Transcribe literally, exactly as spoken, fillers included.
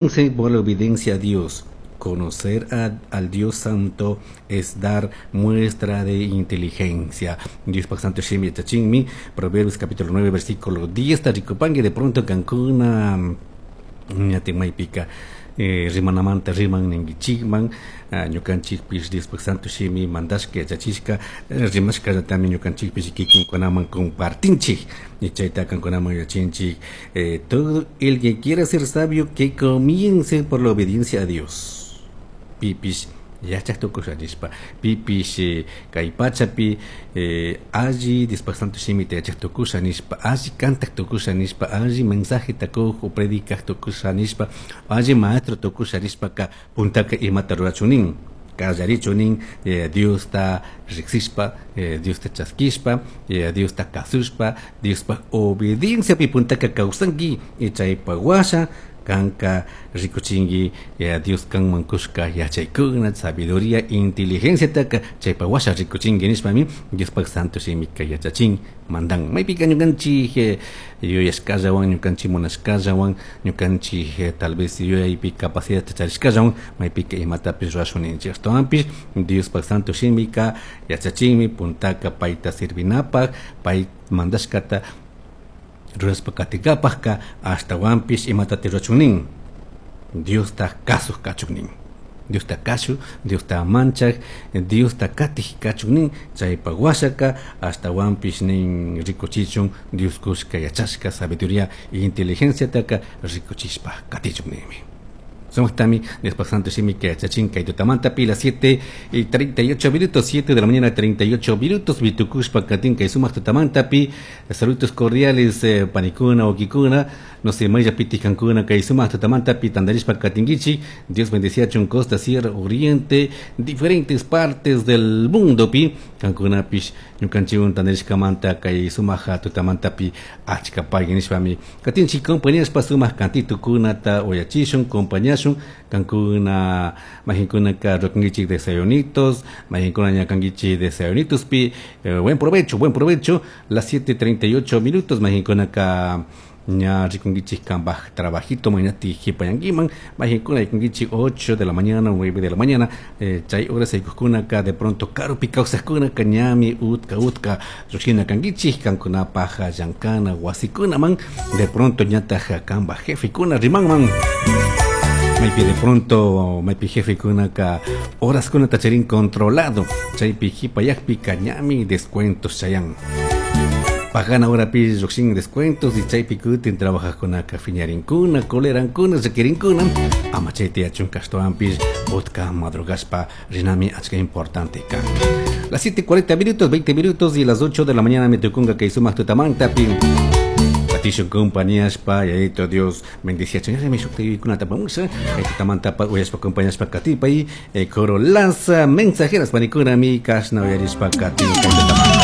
Por la obediencia a Dios. Conocer a, al Dios Santo es dar muestra de inteligencia. Dios Santo Shimi Yachachinmi, Proverbios capítulo nueve, versículo diez, Tarikupangue, de pronto kankuna ñatin eh, rimanamanta riman ningichikman, ñukanchikpish Dios Santo Shimi mandashka yachachishka rimashkallatami ñukanchikpish kikinkunaman compartinchik y chayta kankunaman yachinchik. Eh, todo el que quiera ser sabio, que comience por la obediencia a Dios. Pipish yachaq tukusha nishpa, pipish kay pachapi eh, alli Dios Santo shimita yachaq tukusha nishpa, alli kantaq tukusha nishpa, alli mensajeta kuq o predicaq tukusha nishpa, alli maestro tukusha nishpaka puntaka imata rurachunin kallarichunin eh, Diosta riqsishpa, eh, Diosta chaskishpa, eh, Diosta kasushpa, Diospaj obedienciapi puntaka kawsanki y chaypa washa kanka rikuchinki eh, Dios kanman kushka yachaykuna, sabiduría, inteligencia taka chaypa washa rikuchinki nishpami Diospaj Santo shimika yachachin mandan. Maypika ñukanchik eh, yuyashkallawan, ñukanchik munashkallawan, ñukanchik eh, tal vez yuyaypi capacidad charishkallawan maypika imatapish rurashun ninchik. Ashtawanpish Diospaj Santo shimika yachachinmi puntaka payta sirvinapaj, pay mandashkata rurashpa katikapajka ashtawanpish imatati rurachun Diosta kasuj kachun nin. Diosta kashu, Diosta manchaj, Diosta katij kachun nin, chaypa washaka ashtawanpish nin rikuchichun Dios kushka yachashka sabiduría e inteligenciataka rikuchishpa katichun ninmi. Somos Tami, Dios Santo Shimi que yachachin kay tutamanta pi las siete y treinta y ocho minutos, siete de la mañana treinta y ocho minutos, vitukushpa katin kay sumaq tutamanta pi, saludos cordiales, eh, panikuna okikuna, no sé, maya piti kankuna kay sumaq tutamanta pi tandarishpa katinkichi, Dios bendecía chun costa, sierra, oriente, diferentes partes del mundo pi, kankuna pish, ñukanchiwan tandarishkamanta kay sumaq tutamanta pi, achka pagui nishpami, katinchi compañías pa sumaq kantitukunata uyachishun, compañías kankuna majinkuna ka rokangichik desayunitos, majinkuna ñakangichik desayunitos pi, eh, buen provecho, buen provecho, las siete treinta y ocho minutos, majinkuna ka ña rikungichik kambaj trabajito mañati jipayanguiman, majinkuna rikungichik ocho de la mañana, nueve de la mañana, eh, chay horas aykuskuna ka de pronto karupi kawsajkuna ka ñami utka utka lluqshina kangichik kankuna paja llankana wasikuna man, de pronto ñataj kambaj jefekuna rimanman. Maypi de pronto, maypi jefe kunaka horas kuna tacharín controlado, chaypi jipayakpi kañami descuentos chayan. Pagana hora pi lluqshin descuentos y chaypi kutin trabajajkunaka fiñarinkuna, colerankuna, llakirinkuna, ama chayta yachun kashtawanpish utka madrugashpa rinami achka importante kan. Las siete cuarenta minutos, veinte minutos y las ocho de la mañana me tukunga kay sumaq tutamantapi. Tishun compañías pa yayito Dios bendecía chuña mi shukti kuna tapamusa tamanta pa uyaspa compañías pa katipa y coro lanza mensajeras panikuna mi kashna uyarispa kati